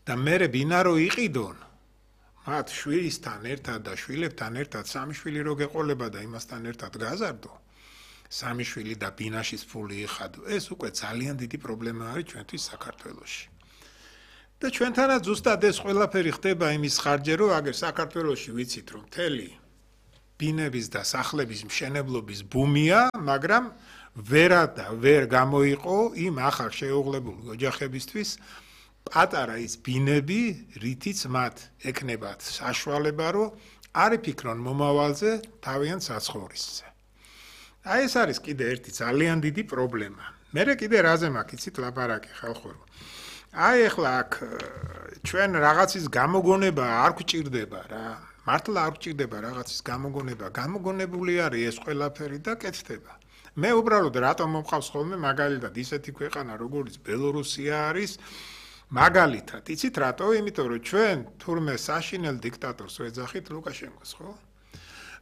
და მერე ვინა რო იყიდონ მათ შვილისთან ერთად და შვილებთან ერთად სამი შვილი რო გეყოლება და იმასთან ერთად გაზარდო სამი შვილი და ბინაშის ფული იხადო ეს უკვე ძალიან დიდი პრობლემა არის ჩვენთვის საქართველოში და ჩვენთანაც ზუსტად ეს ყველაფერი ხდება იმის ხარჯზე რომ აგერ საქართველოში ვიცით რომ მთელი ბინების და სახლების მშენებლობის ბუმია მაგრამ ვერ გამოიყო იმ ახალ შეუღლებული ოჯახებისთვის პატარა ის ბინები რითიც მათ ეკნებათ საშუალება რომ არ იფიქრონ მომავალზე თავიანთ საცხოვრისზე აი ეს არის კიდე ერთი ძალიან დიდი პრობლემა მერე კიდე რაზე მაქვს იცით ლაპარაკი ხალხო აი ეხლა აქ ჩვენ რაღაცის გამოგონება არ გვჭირდება რა მართლა არ გვჭირდება რაღაცის გამოგონება გამოგონებული არის ეს ყველაფერი და კეთდება მე უბრალოდ რატომ მომყავს ხოლმე მაგალითად ისეთი ქვეყანა როგორც ბელორუსია არის მაგალითად იცით რატო იმიტომ რომ ჩვენ თურმე საშინელ დიქტატორს ვეძახით ლუკაშენკოს ხო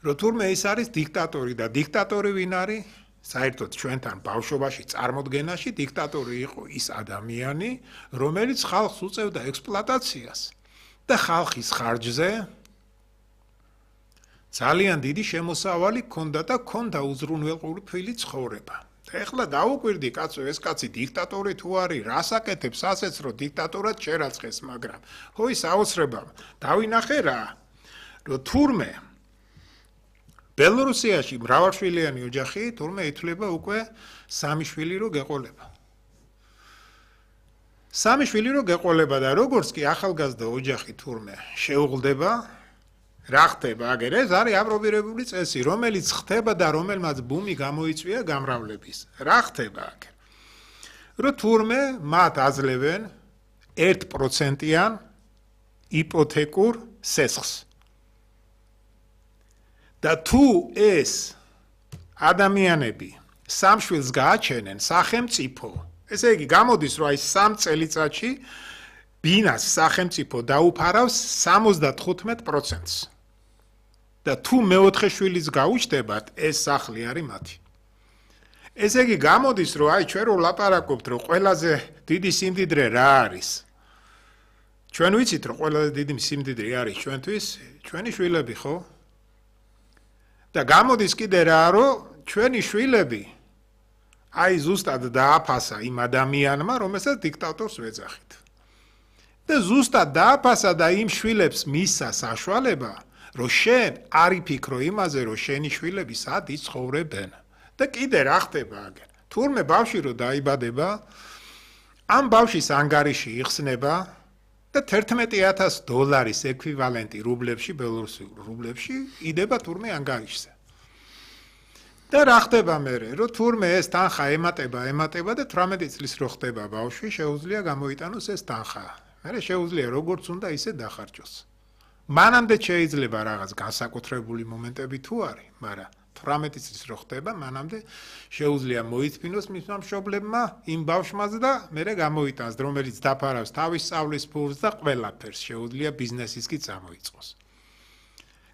რომ თურმე ის არის დიქტატორი და დიქტატორი ვინ არის საერთოდ ჩვენთან ბავშვობაში წარმოდგენაში დიქტატორი იყო ის ადამიანი რომელიც ხალხს უწევდა ექსპლუატაციას და ხალხის ხარჯზე ძალიან დიდი შემოსავალი ჰქონდა და ჰქონდა უზრუნველყოფილი ცხოვრება და ეხლა დაუკვირდი კაცო ეს კაცი დიქტატორი თუ არის რას აკეთებს ასეც რომ დიქტატორად შერაცხეს მაგრამ ხო ის აუცრება დავინახე რა რომ თურმე ბელორუსიაში მრავალშვილიანი ოჯახი თურმე ითვლება უკვე სამი შვილი რო გეყოლება სამი შვილი რო გეყოლება და როგორც კი ახალგაზრდა ოჯახი თურმე შეუღლდება რა ხდება აგერ ეს არის აპრობირებული წესი რომელიც ხდება და რომელმაც ბუმი გამოიწვია გამრავლების რა ხდება აგერ რომ თურმე მათ აძლევენ 1%-იან იპოთეკურ სესხს და თუ ეს ადამიანები სამშვილს გააჩენენ სახელმწიფო ესე იგი გამოდის რომ აი 3 წელიწადში ბინას სახელმწიფო დაუფარავს 75%-ს და თუ მეოთხე შვილის გაუჩნდებათ ეს სახლი არის მათი ესე იგი გამოდის რომ აი ჩვენ რო ლაპარაკობთ რომ ყველაზე დიდი სიმდიდრე რა არის ჩვენ ვიცით რომ ყველაზე დიდი სიმდიდრე არის ჩვენთვის ჩვენი შვილები ხო და გამოდის კიდე რა რომ ჩვენი შვილები აი ზუსტად დააფასა იმ ადამიანმა რომელსაც დიქტატორს ვეძახით და ზუსტად დააფასა და იმ შვილებს მისცა საშუალება რომ შენ არ იფიქრო იმაზე რომ შენი შვილები სად იცხოვრებენ და კიდე რა ხდება აგერ თურმე ბავშვი რო დაიბადება ამ ბავშვის ანგარიში იხსნება და $11,000 ეკვივალენტი რუბლებში ბელორუსულ რუბლებში იდება თურმე ანგარიშზე და რა ხდება მერე რომ თურმე ეს თანხა ემატება და 18 წლის რო ხდება ბავშვი შეუძლია გამოიტანოს ეს თანხა მერე შეუძლია როგორც უნდა ისე დახარჯოს მანამდე შეიძლება რაღაც განსაკუთრებული მომენტები თუ არის მაგრამ 18 წლის რო ხდება მანამდე შეუძლია მოიწმინოს მისმა მშობლებმა იმ ბავშვმაც და მერე გამოიტანს რომელიც დაფარავს თავის სწავლის ფულს და ყველაფერს შეუძლია ბიზნესის კი წამოიწყოს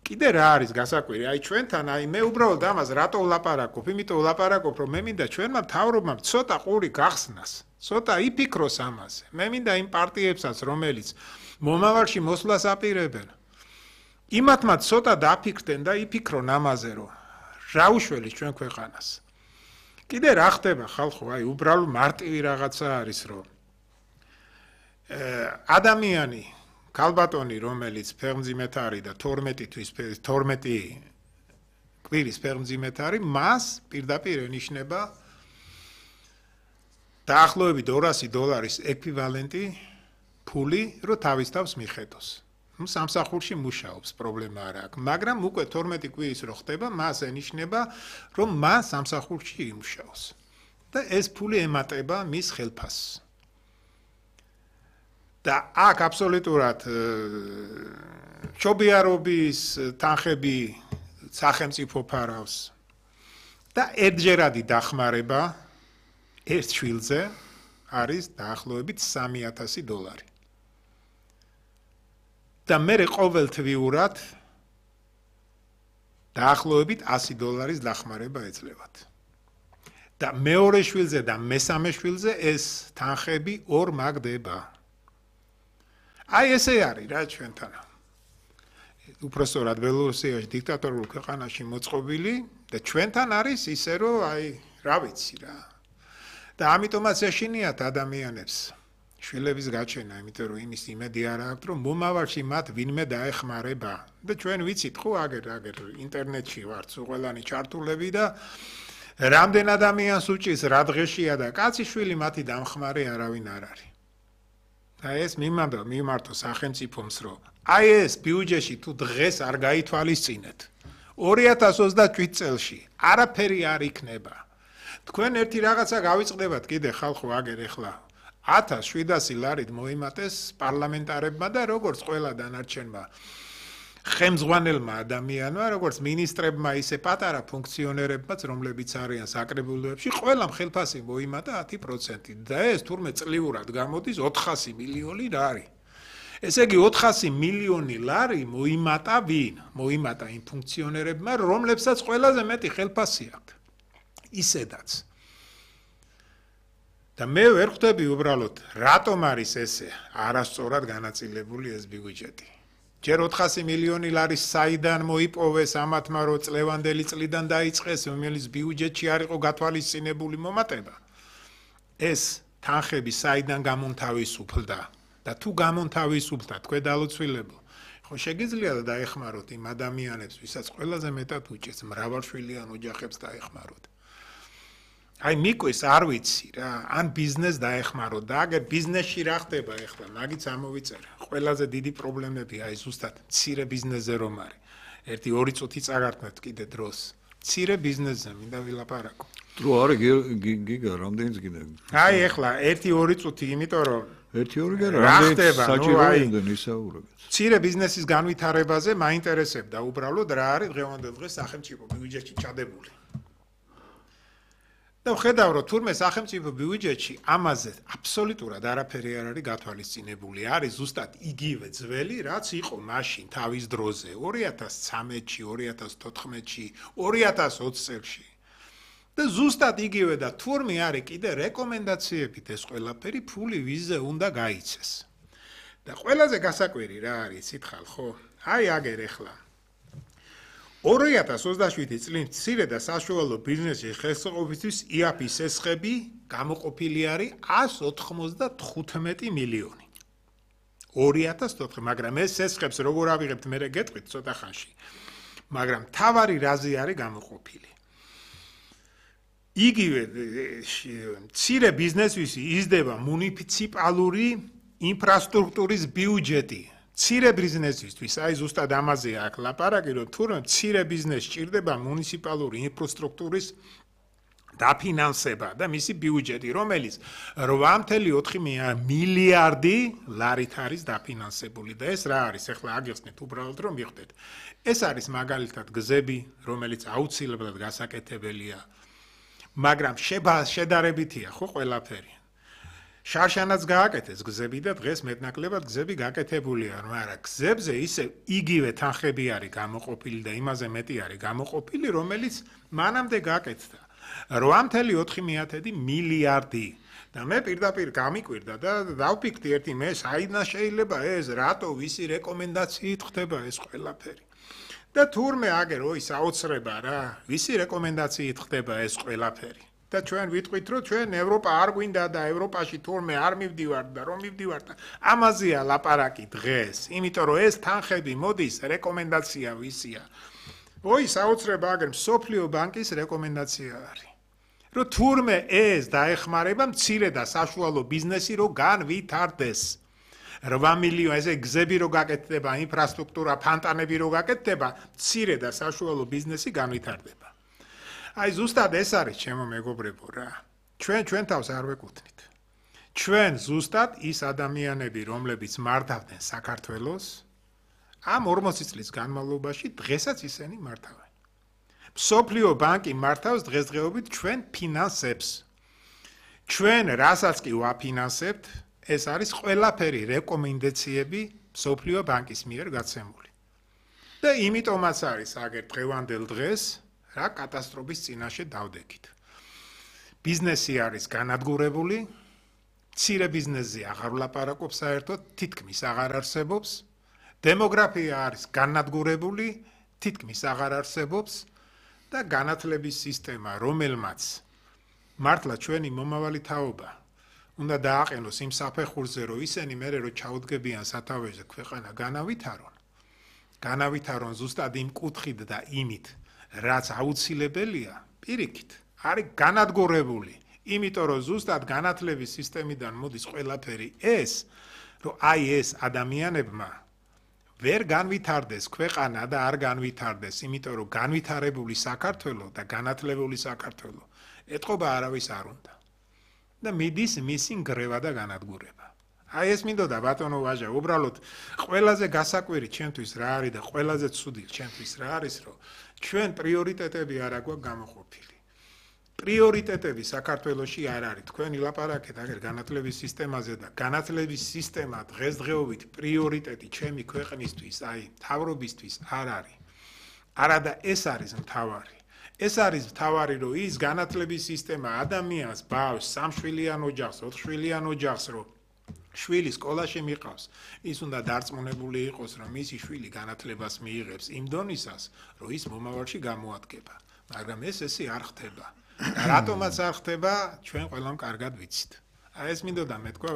კიდე რა არის გასაკვირი აი ჩვენთან აი მე უბრალოდ ამას რატო ვლაპარაკობ იმიტომ ვლაპარაკობ რომ მე მინდა ჩვენმა მთავრობამ ცოტა ყური გახსნას ცოტა იფიქროს ამაზე მე მინდა იმ პარტიებსაც რომელიც მომავალში მოსვლას აპირებენ იმათმა ცოტა დაფიქრდნენ და იფიქრონ ამაზე რომ რა უშველის ჩვენ ქვეყანას კიდე რა ხდება ხალხო აი უბრალოდ მარტივი რაღაცა არის რომ ადამიანი ქალბატონი რომელიც ფეხმძიმეთ არის და 12 კვირის ფეხმძიმეთ არის მას პირდაპირ ენიშნება დაახლოებით $200 ეკვივალენტი ფული რომ თავის თავს მიხედოს სამსახურში მუშაობს პრობლემა არ აქვს მაგრამ უკვე 12 კვირის რო ხდება მას ენიშნება რომ მას სამსახურში იმუშაოს და ეს ფული ემატება მის ხელფასს და აქ აბსოლუტურად ჩობიარობის თანხები სახელმწიფო ფარავს და ერთჯერადი დახმარება ერთ შვილზე არის დაახლოებით $3,000 და მერე ყოველთვიურად დაახლოებით $100 დახმარება ეძლებათ და მეორე შვილზე და მესამე შვილზე ეს თანხები ორ მაგდება აი ესე არის რა ჩვენთან. უпростоრად ბელორუსიაში დიქტატორულ ქვეყანაში მოწყობილი და ჩვენთან არის ისე რომ აი რა ვიცი რა. და ამიტომაც ეშინიათ ადამიანებს შვილების გაჩენა, იმიტომ რომ იმის იმედი არ აქვს, რომ მომავალში მათ ვინმე დაეხმარება. და ჩვენ ვიცით ხო აგერ ინტერნეტში ვართ ყველანი ჩართულები და რამდენ ადამიანს უჭის რა დღეშია და კაცი შვილი მათი დამხმარე არავინ არ არის. და ეს მიმართო სახელმწიფოს რომ აი ეს ბიუჯეტში თუ დღეს არ გაითვალისწინეთ 2027 წელში არაფერი არ იქნება. თქვენ ერთი რაღაცა გავიწყდებათ კიდე ხალხო აგერ ეხლა 1700 ლარით მოიმატეს პარლამენტარებმა და როგორც ყველა დანარჩენმა ხელმძღვანელმა ადამიანმა, როგორც მინისტრებმა, ისე პატარა ფუნქციონერებმაც, რომლებიც არიან საკრებულოებში, ყველამ ხელფასი მოიმატა 10% და ეს თურმე წლიურად გამოდის 400 მილიონი ლარი. ესე იგი 400 მილიონი ლარი მოიმატა ვინ? მოიმატა იმ ფუნქციონერებმა, რომლებსაც ყველაზე მეტი ხელფასი აქვთ. ისედაც. და მე ვერ ხვდები უბრალოდ, რატომ არის ესე არასწორად განაწილებული ეს ბიუჯეტი. ჯერ 400 მილიონი ლარის საიდან მოიპოვეს ამათმა რო წლევანდელი წლიდან დაიწყეს, რომელიც ბიუჯეტში არ იყო გათვალისწინებული მომატება. ეს თანხები საიდან გამონთავისუფლდა და თუ გამონთავისუფლდა თქვენ დალოცვილებო, ხო შეგიძლიათ დაეხმაროთ იმ ადამიანებს, ვისაც ყველაზე მეტად უჭირს, მრავალშვილიან ოჯახებს დაეხმაროთ. აი მიკვეს არ ვიცი რა, ან ბიზნეს დაეხმაროთ და აგერ ბიზნესში რა ხდება ახლა, მაგიც ამოვიწერე. ყველაზე დიდი პრობლემები აი ზუსტად მცირე ბიზნესზე რომ არის. 1-2 წუთი წაგართმევთ კიდე დროს. მცირე ბიზნესზე მინდა ვილაპარაკო. დრო არის გიგა, რამდენიც კიდე. აი ახლა 1-2 წუთი, იმიტომ რომ 1-2 გა რამდენიც საჭიროა ისაუბრებთ. მცირე ბიზნესის განვითარებაზე მაინტერესებდა უბრალოდ რა არის დღევანდელ დღეს სახელმწიფო ბიუჯეტში ჩადებული. და ვხედავ რომ თურმე სახელმწიფო ბიუჯეტში ამაზე აბსოლუტურად არაფერი არ არის გათვალისწინებული. არის ზუსტად იგივე ძველი, რაც იყო მაშინ თავის დროზე 2013-ში, 2014-ში, 2020 წელში. და ზუსტად იგივე და თურმე არის კიდე რეკომენდაციებით ეს ყველაფერი ფული ვიზზე უნდა გაიცეს. და ყველაზე გასაკვირი რა არის სითხალ ხო? აი აგერ ეხლა 2027 წლის მცირე და საშუალო ბიზნესის ხელსაყრელობის IAP-ის ესხები გამოყოფილი არის 195 მილიონი. 2014, მაგრამ ეს ესხებს როგორ ავიღებთ მე გეტყვით ცოტა ხანში. მაგრამ თავარი რაზე არის გამოყოფილი. იგივე მცირე ბიზნესის იზრდება მუნიციპალური ინფრასტრუქტურის ბიუჯეტი. მცირე ბიზნესისთვის, აი ზუსტად ამაზე აქ ლაპარაკი, რომ თურმე მცირე ბიზნესს სჭირდება მუნიციპალური ინფრასტრუქტურის დაფინანსება და მისი ბიუჯეტი, რომელიც 8.4 მილიარდი ლარით არის დაფინანსებული და ეს რა არის? ახლა აგიხსნით უბრალოდ რომ მიხვდეთ. ეს არის მაგალითად გზები, რომელიც აუცილებლად გასაკეთებელია, მაგრამ შედარებითია ხო ყველაფერი. შარშანაც გააკეთეს გზები და დღეს მეტნაკლებად გზები გაკეთებულია, მაგრამ გზებზე ისე იგივე თანხები არის გამოყოფილი და იმაზე მეტი არის გამოყოფილი, რომელიც მანამდე გაკეთდა. 8.4 მილიარდი. და მე პირდაპირ გამიკვირდა და დავფიქრდი ერთი მე საიდან შეიძლება ეს, რატო ვისი რეკომენდაციით ხდება ეს ყველაფერი. და თურმე აგერ ой საოცრება რა, ვისი რეკომენდაციით ხდება ეს ყველაფერი. და ჩვენ ვიტყვით რომ ჩვენ ევროპა არ გვინდა და ევროპაში თურმე არ მივდივართ და რომ მივდივართ ამაზეა ლაპარაკი დღეს, იმიტომ რომ ეს თანხები მოდის რეკომენდაცია ვისია. ой საოცრება აგერ სოფლიო ბანკის რეკომენდაცია არის. რომ თურმე ეს დაეხმარება მცირე და საშუალო ბიზნესი რომ განვითარდეს. 8 მილიონი ესე გზები რო გაკეთდება, ინფრასტრუქტურა, ფანტანები რო გაკეთდება, მცირე და საშუალო ბიზნესი განვითარდება. აი ზუსტად ეს არის ჩემო მეგობრებო რა. ჩვენ თავს არ ვეკუთვნით. ჩვენ ზუსტად ის ადამიანები, რომლებიც მართავდნენ საქართველოს, ამ 40 წლის განმავლობაში დღესაც ისინი მართავენ. მსოფლიო ბანკი მართავს დღესდღეობით ჩვენ ფინანსებს. ჩვენ რასაც კი ვაფინანსებთ, ეს არის ყველაფერი რეკომენდაციები მსოფლიო ბანკის მიერ გაცემული. და იმიტომაც არის აგერ დღევანდელ დღეს რა კატასტროფის წინაშე დავდექით. ბიზნესი არის განადგურებული, მცირე ბიზნესზე აღარ ვლაპარაკობ საერთოდ, თითქმის აღარ არსებობს. დემოგრაფია არის განადგურებული, თითქმის აღარ არსებობს და განათლების სისტემა, რომელმაც მართლა ჩვენი მომავალი თაობა უნდა დააყენოს იმ საფეხურზე, რომ ისინი მერე რო ჩაუდგებიან სათავეზე ქვეყანა განავითარონ ზუსტად იმ კუთხით და იმით, რაც აუცილებელია, პირიქით, არის განადგურებული. იმიტომ რომ ზუსტად განათლების სისტემიდან მოდის ყველაფერი ეს, რომ აი ეს ადამიანებმა ვერ განვითარდეს ქვეყანა და არ განვითარდეს, იმიტომ რომ განვითარებული საქართველო და განათლებული საქართველო ეთყობა არავის არ უნდა. და მიდის მისი ნგრევა და განადგურება. აი ეს მინდოდა ბატონო ვაჟა, უბრალოდ ყველაზე გასაკვირი ჩემთვის რა არის და ყველაზე ცუდი ჩემთვის რა არის, რომ ჩვენ პრიორიტეტები არ აქვს გამოყოფილი. პრიორიტეტები საქართველოში არ არის. თქვენი ლაპარაკეთ აგერ განათლების სისტემაზე და განათლების სისტემა დღესდღეობით პრიორიტეტი ჩემი ქვეყნისთვის, აი მთავრობისთვის არ არის. არადა ეს არის მთავარი. ეს არის მთავარი, რომ ის განათლების სისტემა ადამიანს, ბავშვს, სამშვილიან ოჯახს, 4 შვილიან ოჯახს, რომ შვილი სკოლაში მიყავს, ის უნდა დარწმუნებული იყოს, რომ მისი შვილი განათლებას მიიღებს იმ დონისას, რომ ის მომავალში გამოადგება. მაგრამ ესე არ ხდება. და რატომაც არ ხდება, ჩვენ ყველამ კარგად ვიცით. აი ეს მინდოდა მე თქვა,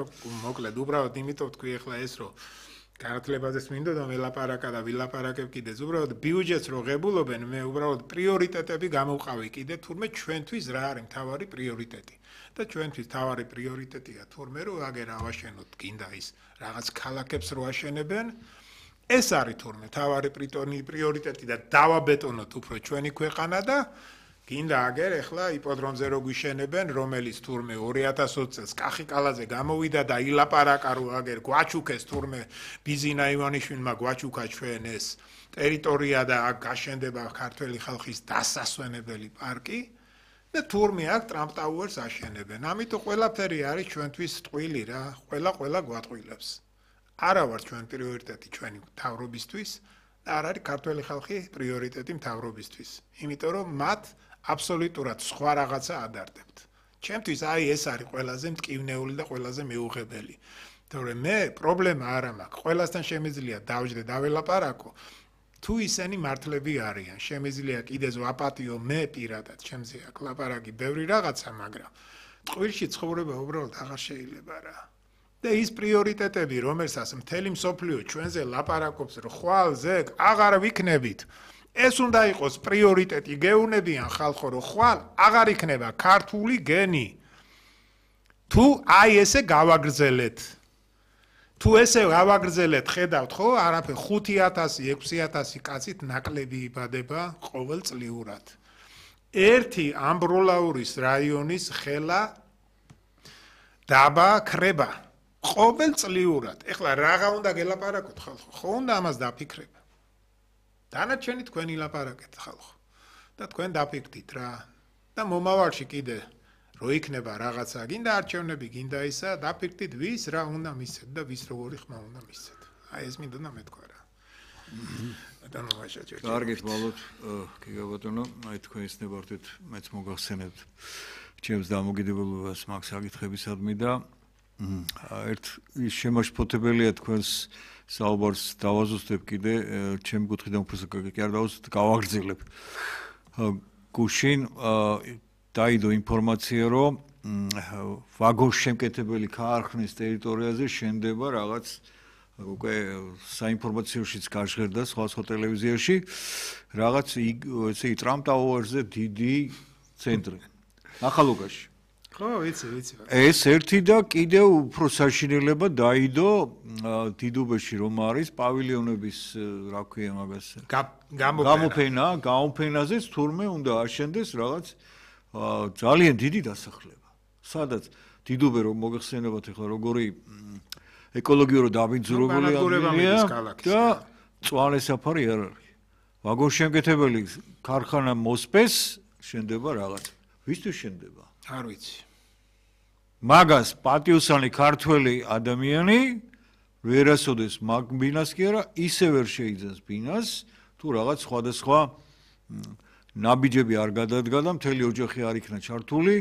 მოკლედ, უბრალოდ იმიტომ თქვი ახლა ეს, რომ განათლებაზეც მინდოდა ველაპარაკა და ვილაპარაკებ კიდეც, უბრალოდ ბიუჯეტს რო ღებულობენ, მე უბრალოდ პრიორიტეტები გამოვყავი კიდე, თურმე ჩვენთვის რა არის მთავარი პრიორიტეტი. და ჩვენთვის მთავარი პრიორიტეტია თურმე რომ აგერ ავაშენოთ გინდა ის რაღაც ქალაქებს რო აშენებენ, ეს არის თურმე მთავარი პრიორიტეტი და დავაბეტონოთ უფრო ჩვენი ქვეყანა და გინდა აგერ ახლა იპოდრომზე რო გვიშენებენ, რომელიც თურმე 2020 წელს კახიკალაზე გამოვიდა და ილაპარაკა რომ აგერ გვაჩუქეს თურმე ბიზინა ივანიშვილმა გვაჩუქა ჩვენ ეს ტერიტორია და აქ გაშენდება ქართველი ხალხის დასასვენებელი პარკი და თურმე აქ ტრამპ ტაუერს აშენებენ. ამიტომ ყველაფერი არის ჩვენთვის ტყვილი რა, ყველა გვატყვილებს. არა ვარ ჩვენ პრიორიტეტი ჩვენი მთავრობისთვის და არ არის ქართველი ხალხი პრიორიტეტი მთავრობისთვის. იმიტომ რომ მათ აბსოლუტურად სხვა რაღაცა ადარდებთ. ჩემთვის აი ეს არის ყველაზე მტკივნეული და ყველაზე მეუღებელი. თორემ მე პრობლემა არ მაქვს. ყველასთან შემიძლია დავждე დაველაპარაკო. თუ ისინი მართლები არიან, შემიძლია კიდეც ვაპატიო მე პირადად, ჩემზე აქ ლაპარაკი ბევრი რაღაცა, მაგრამ ტყუილში ცხოვრება უბრალოდ აღარ შეიძლება რა. და ის პრიორიტეტები, რომელსაც მთელი მსოფლიო ჩვენზე ლაპარაკობს, რომ ხვალ ზეგ აღარ ვიქნებით, ეს უნდა იყოს პრიორიტეტი, გეუნებიან ხალხო, რომ ხვალ აღარ იქნება ქართული გენი. თუ აი ესე გავაგრძელეთ. თუ ესე გავაგრძელეთ, ხედავთ ხო, არაფერ 5000-6000 კაცით ნაკლები იბადება ყოველწლიურად. ერთი ამბროლაურის რაიონის ხელა დაბა ქრება ყოველწლიურად. ეხლა რაღა უნდა გელაპარაკოთ ხალხო, ხო უნდა ამას დაფიქრება. დანარჩენი თქვენი ლაპარაკეთ ხალხო. და თქვენ დაფიქრდით რა. და მომავალში კიდე რო იქნება რაღაცა, გინდა არჩევნები, გინდა ისა, დაფიქრდით ვის რა უნდა მისცეთ და ვის როგორი ხმა უნდა მისცეთ. აი ეს მინდოდა მეთქვა რა. ბატონო ვაჟაჭო. კარგით, ვალოთ, გიგაბატონო, აი თქვენ ისნებართით, მეც მოგახსენებთ ჩემს დამოკიდებულებას მაგ საკითხებისადმი და ერთ ის შემაშფოთებელია თქვენს საუბარს დავაზუსტებ კიდე ჩემი კუთხიდან უფრო კი არ დავაზუსტებ, გავაგრძელებ. გუშინ დაიდო ინფორმაცია, რომ ვაგონშემკეთებელი ქარხნის ტერიტორიაზე შენდება რაღაც უკვე საინფორმაციოშიც გაჟღერდა სხვა ტელევიზიაში რაღაც ესე ტრამპ ტაუერზე დიდი ცენტრი ახალუგაში. ხო, ვიცი. ეს ერთი და კიდევ უფრო საშინელება დაიდო დიდუბეში რომ არის პავილიონების რა ქვია მაგას გამოფენაზეც თურმე უნდა აშენდეს რაღაც ძალიან დიდი დასახლება. სადაც დიდუბე რომ მოგეხსენებათ ახლა როგორი ეკოლოგიურად დაბინძურებული ადამიანია და წვანე საფარი არ არის. ვაგონშემკეთებელი ქარხანა მოსპეს შენდება რაღაც. ვისთვის შენდება? არ ვიცი. მაგას პატიოსანი ქართველი ადამიანი ვერასოდეს მაგ ბინას კი არა ისე ვერ შეიძენს ბინას თუ რაღაც სხვადასხვა ნაბიჯები არ გადადგა და მთელი ოჯახი არ იქნა ჩართული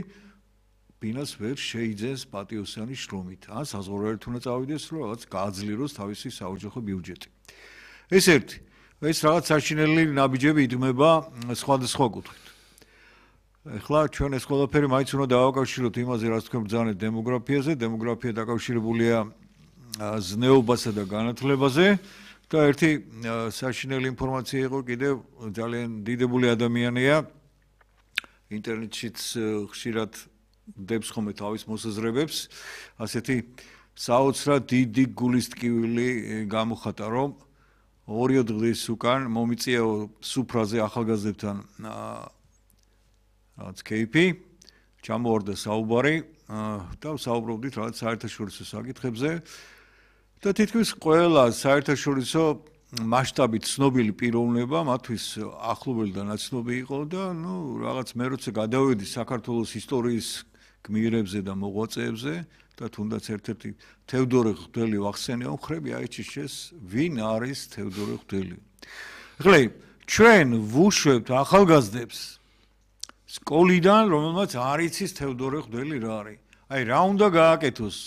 ბინას ვერ შეიძენს პატიოსანი შრომით. ან საზღვარგარეთ უნდა წავიდეს, რომ რაღაც გააძლიეროს თავისი საოჯახო ბიუჯეტი. ეს ერთი. ეს რაღაც საშინელი ნაბიჯები იდგმება სხვადასხვა კუთხით. ეხლა ჩვენ ეს ყველაფერი მაინც უნდა დავაკავშიროთ იმაზე, რაც თქვენ ბრძანეთ დემოგრაფიაზე. დემოგრაფია დაკავშირებულია ზნეობასა და განათლებაზე და ერთი საშინელი ინფორმაცია იყო კიდევ ძალიან დიდებული ადამიანია ინტერნეტშიც ხშირად დებს ხოლმე თავის მოსაზრებებს ასეთი საოცრად დიდი გულის ტკივილი გამოხატა რომ 2 დღის უკან მომიწია სუფრაზე ახალგაზრდებთან რაც кейპი ჩამოვარდა საუბარი და საუბრობდით რაღაც საერთაშორისო საკითხებზე და თითქმის ყველა საერთაშორისო მასშტაბით ცნობილი პიროვნება მათთვის ახლობელი და ნაცნობი იყო და ნუ რაღაც მე როცა გადავედი საქართველოს ისტორიის გმირებზე და მოღვაწეებზე და თუნდაც ერთ-ერთი თევდორე ღვთელი ვახსენე ხრები აიჩიშეს ვინ არის თევდორე ღვთელი. ეხლა ჩვენ ვუშვებთ ახალგაზრდებს სკოლიდან რომელმაც არ იცის თევდორე ღვთელი რა არის. აი რა უნდა გააკეთოს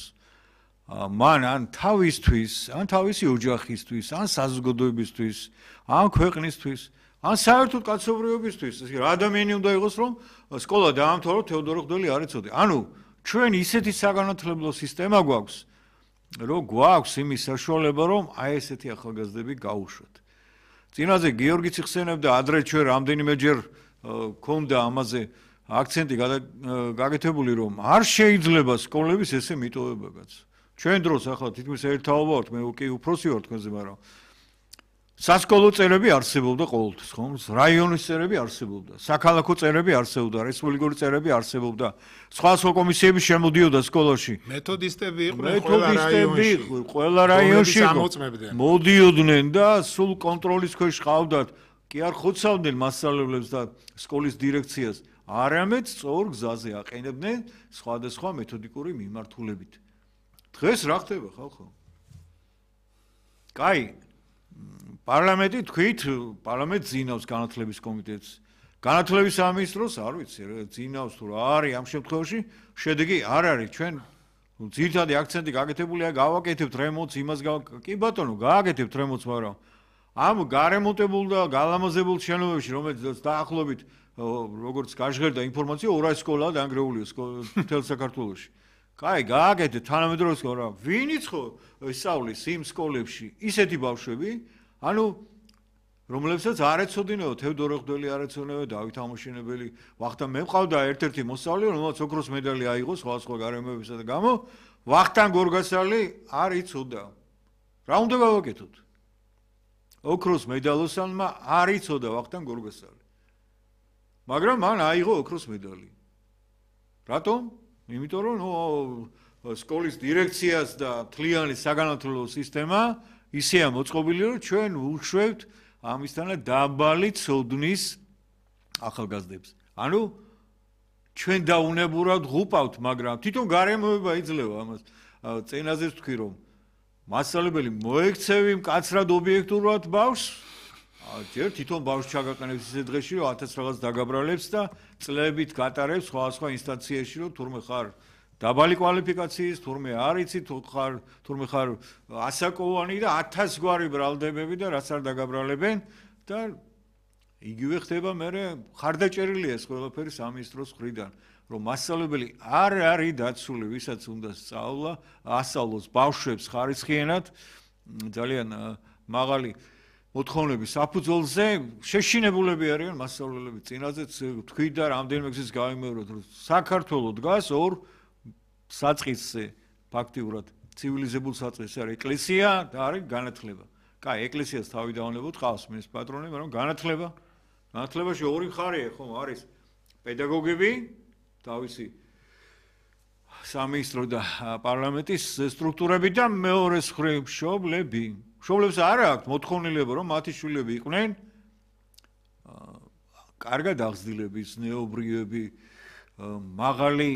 მან ან თავისთვის, ან თავისი ოჯახისთვის, ან საზოგადოებისთვის, ან ქვეყნისთვის, ან საერთოდ კაცობრიობისთვის, რა ადამიანი უნდა იყოს, რომ სკოლა დაამთავროს თევდორე ღვთელი არ იცოდე. ანუ ჩვენ ისეთი საგანათლებლო სისტემა გვაქვს, რომ გვაქვს იმის საშუალება, რომ აი ესეთი ახალგაზრდები გაუშვათ. წინაზე გიორგი ციხსენებდა ადრე ჩვენ რამდენიმეჯერ ქონდა ამაზე აქცენტი გაკეთებული, რომ არ შეიძლება სკოლების ესე მიტოვებაც. ჩვენ დროს ახლა თითქმის ერთაობა ვართ, მე კი უფროსი ვარ თქვენზე, მაგრამ სასკოლო წერები არსებობდა ყოველთვის, ხო? რაიონის წერები არსებობდა, საქალაქო წერები არსებობდა, რესპუბლიკური წერები არსებობდა, სხვა კომისიები შემოდიოდა სკოლაში. მეთოდისტები იყვნენ ყველა რაიონში. მოდიოდნენ და სულ კონტროლის ქვეშ ყავდათ, კი არ ხოცავდნენ მასწავლებლებს და სკოლის დირექციას, არამედ სწორ გზაზე აყენებდნენ სხვადასხვა მეთოდიკური მიმართულებით. დღეს რა ხდება ხალხო? კაი, პარლამენტი თქვით, პარლამენტი ძინავს განათლების კომიტეტს. განათლების სამინისტროს არ ვიცი, ძინავს თუ რა არის ამ შემთხვევაში, შედეგი არ არის. ჩვენ ძირითადი აქცენტი გაკეთებულია, გავაკეთებთ რემონტს, იმას კი ბატონო, გააკეთებთ რემონტს, მაგრამ ამ გარემონტებულ და გალამაზებულ შენობებში, რომელიც დაახლოებით როგორც გაჟღერდა ინფორმაცია, 200 სკოლაა დანგრეულია მთელ საქართველოში. კაი, გააკეთეთ თანამედროვე სკოლა. ვინიც ხო ისწავლის იმ სკოლებში ისეთი ბავშვები, ანუ რომლებსაც არ ეცოდინეო თევდორე ღვთელი არ ეცოდინეო დავით ამოშენებელი. ვახტანგ მე მყავდა ერთ-ერთი მოსწავლე, რომელსაც ოქროს მედალი აიღო სხვა გარემოებისა და გამო, ვახტანგ გორგასალი არ იცოდა. რა უნდა გავაკეთოთ? ოქროს მედალოსანმა არ იცოდა ვახტანგ გორგასალი. მაგრამ მან აიღო ოქროს მედალი. რატომ? იმიტომ რომ სკოლის დირექციას და თლიანი საგანათლებლო სისტემა ისეა მოწყობილი, რომ ჩვენ ვუშვებთ ამისთანავე დაბალი ცოდნის ახალგაზრდებს. ანუ ჩვენ დაუნებურად ღუპავთ, მაგრამ თვითონ გარემოება იძლევა ამას. წენაზე ვთქვი, რომ მასწავლებელი მოექცევი მკაცრად ობიექტურად ბავშვს, ჯერ თვითონ ბავშვს ჩაგაყენებს ისე დღეში, რომ 1000 რაღაც დაგაბრალებს და წლებით გატარებს სხვა ინსტანციაში, რომ თურმე ხარ დაბალი კვალიფიკაციის, თურმე არ იცი, თურმე ხარ ასაკოვანი და 1000 გვარი ბრალდებები და რაც არ დაგაბრალებენ და იგივე ხდება მერე ხარდაჭერილია ეს ყველაფერი სამინისტროს მხრიდან, რომ მასწავლებელი არ არის დაცული, ვისაც უნდა ასწავლოს ბავშვებს ხარისხიანად, ძალიან მაღალი მოთხოვნების საფუძველზე შეშინებულები არიან მასწავლებლები. წინაზეც თქვი და რამდენიმე გზის გავიმეოროთ, რომ საქართველოს დგას ორ საწყისზე ფაქტიურად ცივილიზებულ საწყისზე არის ეკლესია და არის განათლება. კაი, ეკლესიას თავი დაუნებოთ, ყავს მის პატრონი, მაგრამ განათლებაში ორი მხარეა, ხომ არის პედაგოგები, თავისი სამინისტრო და პარლამენტის სტრუქტურები და მეორე მხრივ მშობლები. მშობლებს არ აქვს მოთხოვნილება, რომ მათი შვილები იყვნენ კარგად აღზრდილები, ზნეობრიები, მაღალი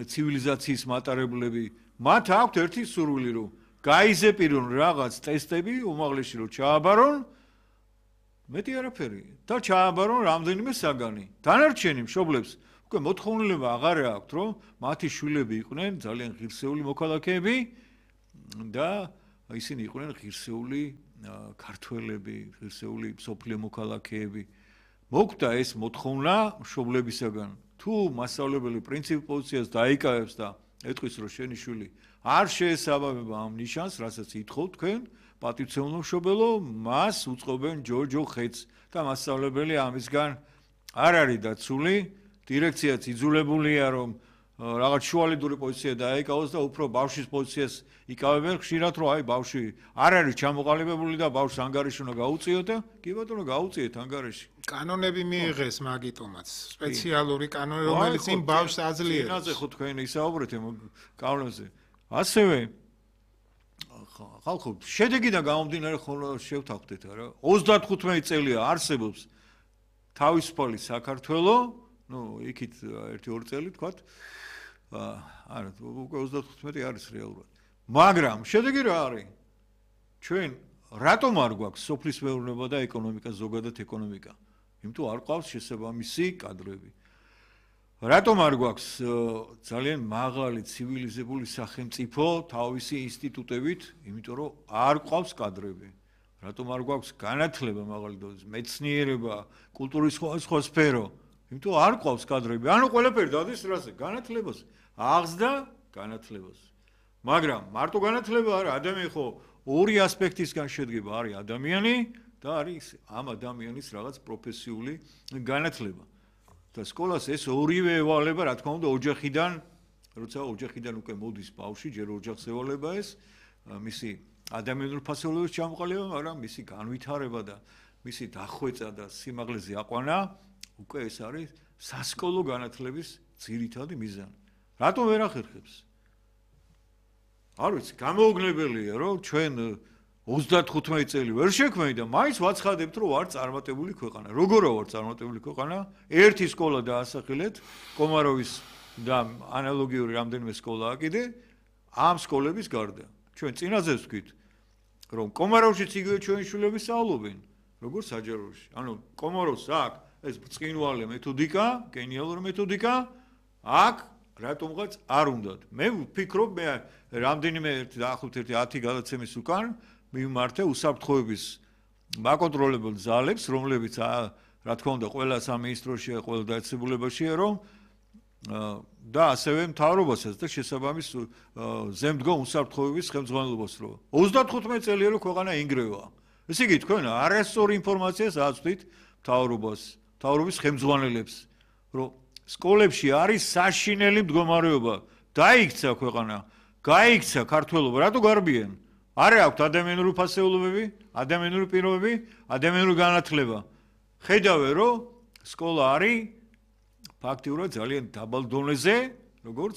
ცივილიზაციის მატარებლები. მათ აქვთ ერთი სურვილი, რომ გაიზეპირონ რაღაც ტესტები, უმაღლესი რომ ჩააბარონ, მეტი არაფერი და ჩააბარონ რამდენიმე საგანი. დანარჩენი მშობლებს უკვე მოთხოვნილება აღარ აქვს, რომ მათი შვილები იყვნენ ძალიან ღირსეული მოქალაქეები და ისინი იყვნენ ღირსეული ქართველები, ღირსეული სოფლიო მოქალაქეები. მოგვდა ეს მოთხოვნა მშობლებისაგან. თუ მასწავლებელი პრინციპ პოზიციას დაიკავებს და ეტყვის, რომ შენი შვილი არ შეესაბამება ამ ნიშანს, რასაც ითხოვთ თქვენ, პატივცემულო მშობელო, მას უწყობენ ჯოჯო ხეთს და მასწავლებელი ამისგან არ არის დაცული, დირექციაც იძულებულია, რომ რაღაც შუალედური პოზიცია დაეკავოს და უფრო ბავშვის პოზიციას იკავებენ ხშირად, რომ აი ბავშვი არ არის ჩამოყალიბებული და ბავშვს ანგარიში უნდა გაუწიოთ და კი ბატონო გაუწიეთ ანგარიში. კანონები მიიღეს მაგიტომაც, სპეციალური კანონი, რომელიც იმ ბავშვს აძლიერებს. წინაზე ხო თქვენ ისაუბრეთ კანონზე. ასევე ხალხო, შედეგიდან გამომდინარე ხოლმე შევთანხმდეთ რა. 35 წელია არსებობს თავისუფალი საქართველო, იქით 1-2 წელი თქვათ. არა, უკვე 35 არის რეალურად. მაგრამ შედეგი რა არის? ჩვენ რატომ არ გვაქვს სოფლის მეურნეობა და ეკონომიკა, ზოგადად ეკონომიკა? იმიტომ არ ყავს შესაბამისი კადრები. რატომ არ გვაქვს ძალიან მაღალი ცივილიზებული სახელმწიფო თავისი ინსტიტუტებით? იმიტომ რომ არ ყავს კადრები. რატომ არ გვაქვს განათლება მაღალი დონის, მეცნიერება, კულტურის სხვა სფერო? იმიტომ არ ყავს კადრები. ანუ ყველაფერი დადის რაზე? განათლებას. აღზრდა განათლებას. მაგრამ მარტო განათლება არა, ადამიანი ხო ორი ასპექტისგან შედგება, არის ადამიანი და არის ამ ადამიანის რაღაც პროფესიული განათლება. და სკოლას ეს ორივე ევალება, რა თქმა უნდა, ოჯახიდან, როცა ოჯახიდან უკვე მოდის ბავშვი, ჯერ ოჯახს ევალება ეს, მისი ადამიანური ფასეულობის ჩამოყალიბება, მაგრამ მისი განვითარება და მისი დახვეწა და სიმაღლეზე აყვანა, უკვე ეს არის სასკოლო განათლების ძირითადი მიზანი. რატომ ვერ ახერხებს? არ ვიცი, გამოუგნებელია, რომ ჩვენ 35 წელი ვერ შექმნით და მაინც ვაცხადებთ, რომ ვარ წარმატებული ქვეყანა. როგორა ვარ წარმატებული ქვეყანა? ერთი სკოლა დაასახელეთ, კომაროვის და ანალოგიური რამდენიმე სკოლაა კიდე, ამ სკოლების გარდა. ჩვენ წინაზე ვთქვით, რომ კომაროვშიც იგივე ჩვენი შვილები სწავლობენ, როგორც საჯაროში. ანუ კომაროვს აქვს ეს ბრწყინვალე მეთოდიკა, გენიალური მეთოდიკა, აქ რატომღაც არ უნდათ. მე ვფიქრობ, მე რამდენიმე დაახლოებით 10 გადაცემის უკან მიმართე უსაფრთხოების მაკონტროლებელ ძალებს, რომლებიც რა თქმა უნდა ყველა სამინისტროშია, ყველა დაწესებულებაშია, რომ და ასევე მთავრობასაც და შესაბამის ზემდგომ უსაფრთხოების ხელმძღვანელობას რო 35 წელია რომ ქვეყანა ინგრევა. ესე იგი თქვენ არასწორი ინფორმაციას აწვდით მთავრობას, მთავრობის ხელმძღვანელებს, რომ სკოლებში არის საშინელი მდგომარეობა, დაიქცა ქვეყანა, გაიქცა ქართველობა, რატო გარბიან? არ აქვს ადამიანური ფასეულობები, ადამიანური პირობები, ადამიანური განათლება. ხედავე, რომ სკოლა არის ფაქტიურად ძალიან დაბალ დონეზე, როგორც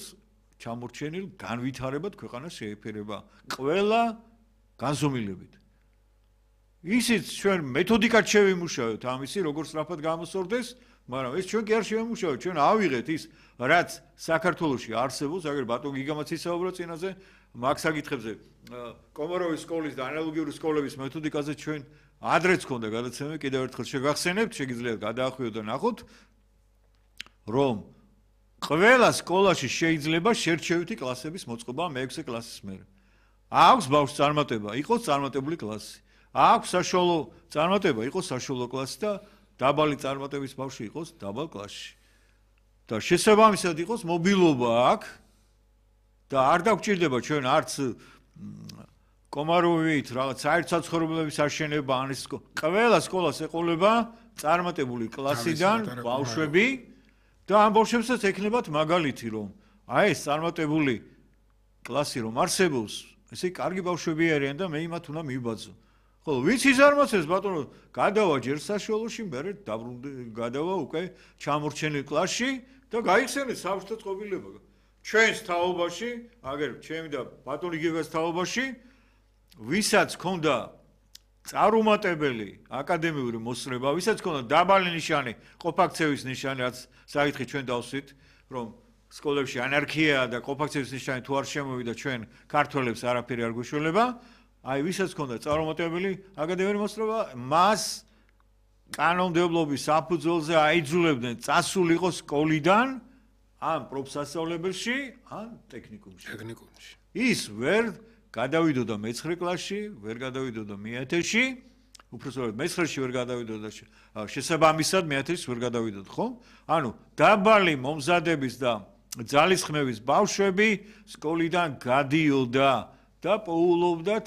ჩამორჩენილ განვითარებად ქვეყანას შეეფერება ყველა განზომილებით. ისიც ჩვენ მეთოდიკად შევიმუშავეთ ამისი, როგორც სწრაფად გამოსწორდეს, მაგრამ ეს ჩვენ კი არ შევიმუშავეთ, ჩვენ ავიღეთ ის, რაც საქართველოში არსებობს, აგერ ბატონ გიგამაც ისაუბრა წინაზე, მაგ საკითხებზე, კომაროვის სკოლის და ანალოგიური სკოლების მეთოდიკაზე ჩვენ ადრეც ქონდა გადაცემა, კიდევ ერთხელ შეგახსენებთ, შეგიძლიათ გადაახვიოთ და ნახოთ, რომ ყველა სკოლაში შეიძლება შერჩევითი კლასების მოწყობა მე-6 კლასის მერე. აქვს ბავშვს წარმატება, იყოს წარმატებული კლასი. აქვს საშუალო წარმატება, იყოს საშუალო კლასი და დაბალი წარმატების ბავშვი იყოს დაბალ კლასში. და შესაბამისად იყოს მობილობა აქ და არ დაგჭირდება ჩვენ არც კომაროვით რაღაც საერთო-საცხოვრებლების აშენება ან ის ყველა სკოლას ეყოლება წარმატებული კლასიდან ბავშვები და ამ ბავშვებსაც ექნებათ მაგალითი, რომ აი ეს წარმატებული კლასი რომ არსებობს, ესე კარგი ბავშვები არიან და მე იმათ უნდა მივბაძო. ხო, ვიც იზარმაცებს ბატონო, გადავა ჯერ საშუალოში, მერე გადავა უკვე ჩამორჩენილ კლასში და გაიხსენეთ საბჭოთა წყობილება. ჩვენს თაობაში, აგერ ჩემი და ბატონი გიგას თაობაში, ვისაც ქონდა წარუმატებელი აკადემიური მოსწრება, ვისაც ქონდა დაბალი ნიშანი, ყოფაქცევის ნიშანი, რაც საკითხი ჩვენ დავსვით, რომ სკოლებში ანარქიაა და ყოფაქცევის ნიშანი თუ არ შემოვიდა ჩვენ ქართველებს არაფერი არ გვეშველება, აი ვისაც ქონდა წარუმატებელი აკადემიური მოსწრება, მას კანონმდებლობის საფუძველზე აიძულებდნენ წასულიყო სკოლიდან ან პროფსასწავლებელში, ან ტექნიკუმში. ის ვერ გადავიდოდა მე-9 კლასში, ვერ გადავიდოდა მე-10-ში, უბრალოდ მე-9-ში ვერ გადავიდოდა შესაბამისად მე-10-ში ვერ გადავიდოდა, ხო? ანუ დაბალი მომზადების და ძალისხმევის ბავშვები სკოლიდან გადიოდა და პოულობდა